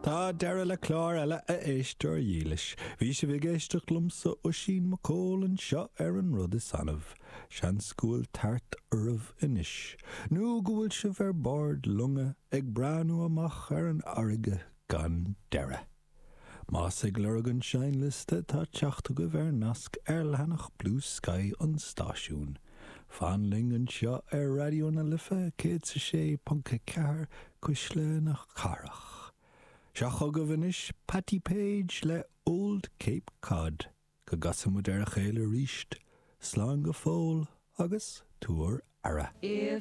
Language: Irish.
Tá deireadh le clár eile, a éisteoir dhílis. Bhí sibh ag éisteacht liomsa, Oisín Mac Cóil, anseo ar An Rud Is Annamh. Seans go bhfuil tart oraibh anois, nó go bhfuil sibh ar bord loinge ag breathnú amach ar an fharraige gan deireadh. Más ag lorg an seinnliosta tá teacht agaibh ar nasc ar leathanach Bluesky an stáisiúin. Fan linn anseo ar Raidió na Life 106.4 Cuisle na Cathrach. Seo chugaibh anois Patti Page le Old Cape Cod. Go gcasa muid ar a chéile arís, slán go fóill agus tabhair aire.